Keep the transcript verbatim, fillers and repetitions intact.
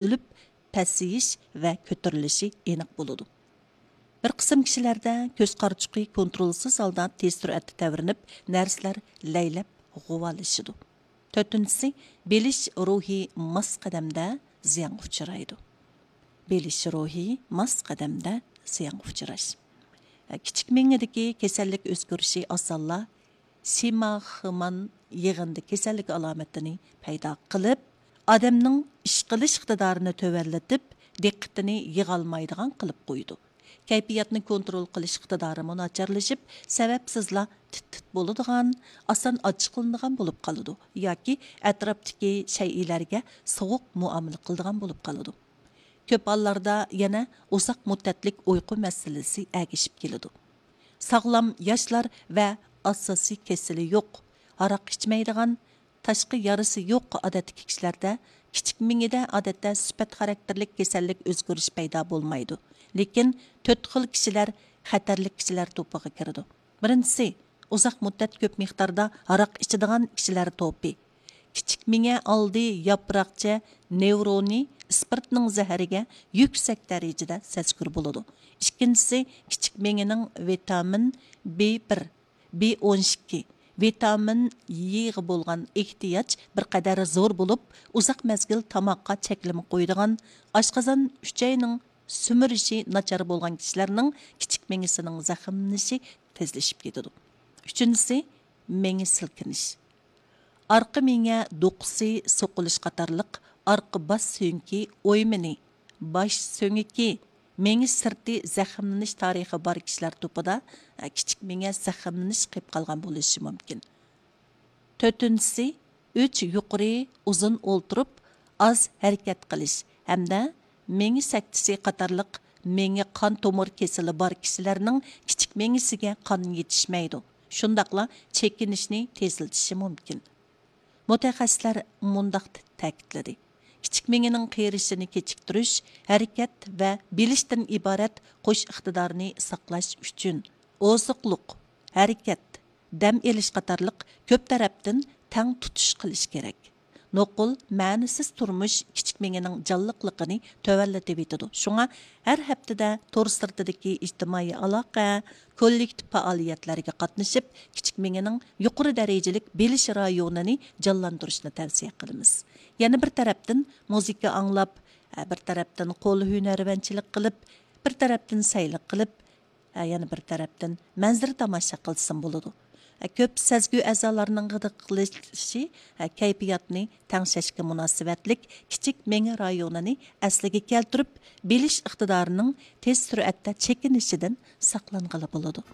ئۆلۈپ، پەسىيىش ۋە كۆتۈرۈلۈشى ئېنىق بولىدۇ. بىر قىسىم كىشىلەردە كۆز قارىچۇقى كونترولسىز ھالدا تېز سۈرئەتتە تەۋرىنىپ، نەرسىلەر لەيلەپ غۇۋالىشىدۇ. تۆتىنچىسى، بىلىش روھى ماس قەدەمدە زىيانغا ئۇچرايدۇ. بىلىش روھى ماس قەدەمدە زىيانغا ئۇچراش. كىچىك مېڭىدىكى كېسەللىك ئۆزگىرىشى ئاسانلا شىماخمان يىغىندى كېسەللىكى ئالامىتىنى پەيدا قىلىپ، ئادەمنىڭ ئىش قىلىش ئىقتىدارىنى تۆۋەنلىتىپ، دىققىتىنى يىغالمايدىغان قىلىپ قويىدۇ. كەيپىياتنى كونترول قىلىش ئىقتىدارىمۇ ناچارلىشىپ، سەۋەبسىزلا تىت-تىت بولىدىغان، ئاسان ئاچچىقلىنىدىغان بولۇپ قالىدۇ ياكى ئەتراپتىكى شەيئىلەرگە سوغۇق مۇئامىلە قىلىدىغان بولۇپ قالىدۇ. كۆپ ھاللاردا يەنە ئۇزاق مۇددەتلىك ئۇيقۇ مەسىلىسى ئەگىشىپ كېلىدۇ. ساغلام ياشلار ۋە ئاساسىي كېسىلى يوق، ھاراق ئىچمەيدىغان، تاشقى يارىسى يوق ئادەتتىكى كىشىلەردە كىچىك مېڭىدە ئادەتتە سۈپەت خاراكتېرلىك كېسەللىك ئۆزگىرىش پەيدا بولمايدۇ. لېكىن تۆت خىل كىشىلەر خەتەرلىك كىشىلەر توپىغا كىرىدۇ. بىرىنچىسى، ئۇزاق مۇددەت كۆپ مىقداردا ھاراق ئىچىدىغان كىشىلەر توپى. كىچىك مېڭە ئالدى ياپراقچە نېۋرونى ئىسپىرتنىڭ زەھىرىگە يۈكسەك دەرىجىدە سەزگۈر بولىدۇ. ئىككىنچىسى، كىچىك مېڭىنىڭ ۋىتامىن بى بىر، بى ئون ئىككى، ۋىتامىن يغا بولغان ئېھتىياج بىر قەدەر زور بولۇپ، ئۇزاق مەزگىل تاماققا چەكلىمە قويىدىغان، ئاشقازان ئۈچەينىڭ سۈمۈرۈشى ناچار بولغان كىشىلەرنىڭ كىچىك مېڭىسىنىڭ زەخىملىنىشى تېزلىشىپ كېتىدۇ. ئۈچىنچىسى، مېڭە سىلكىنىش. ئارقا مېڭە دوقىسى سوقۇلۇش قاتارلىق ئارقا باش سۆڭىكى ئويمىنى، باش سۆڭىكى، مېڭە سىرتى زەخىملىنىش تارىخى بار كىشىلەر توپىدا، ئە، كىچىك مېڭە زەخىملىنىش قېپ قالغان بولۇشى مۇمكىن. تۆتىنچىسى، ئۈچ يۇقىرى ئۇزۇن ئولتۇرۇپ، ئاز ھەرىكەت قىلىش ھەمدە مېڭە سەكتىسى قاتارلىق مېڭە قان تومۇر كېسىلى بار كىشىلەرنىڭ كىچىك مېڭىسىگە قان يېتىشمەيدۇ، شۇنداقلا چېكىنىشنى تېزلىتىشى مۇمكىن. مۇتەخەسسىسلەر مۇنداق تەكىتلىدى: كىچىك مېڭىنىڭ قېرىشىنى كېچىكتۈرۈش، ھەرىكەت ۋە بىلىشتىن ئىبارەت قوش ئىقتىدارنى ساقلاش ئۈچۈن، ئوزۇقلۇق، ھەرىكەت، دەم ئېلىش قاتارلىق كۆپ تەرەپتىن تەڭ تۇتۇش قىلىش كېرەك. نوقۇل، مەنىسىز تۇرمۇش كىچىك مېڭىنىڭ جانلىقلىقىنى تۆۋەنلىتىۋېتىدۇ. شۇڭا ھەر ھەپتىدە تور سىرتىدىكى ئىجتىمائىي ئالاقە، كوللېكتىپ پائالىيەتلەرگە قاتنىشىپ، كىچىك مېڭىنىڭ يۇقىرى دەرىجىلىك بىلىش رايونىنى جانلاندۇرۇشنى تەۋسىيە قىلىمىز. يەنە بىر تەرەپتىن مۇزىكا ئاڭلاپ، بىر تەرەپتىن قول ھۈنەرۋەنچىلىك قىلىپ، بىر تەرەپتىن سەيلە قىلىپ، ھە، يەنە بىر تەرەپتىن مەنزىرە تاماشا قىلسىمۇ بولىدۇ. ھە، كۆپ سەزگۈ ئەزالارنىڭ غىدىقلىشىشى، ھە، كەيپىياتنى تەڭشەشكە مۇناسىۋەتلىك كىچىك مېڭە رايونىنى ئەسلىگە كەلتۈرۈپ، بىلىش ئىقتىدارىنىڭ تېز سۈرئەتتە چېكىنىشىدىن ساقلانغىلى بولىدۇ.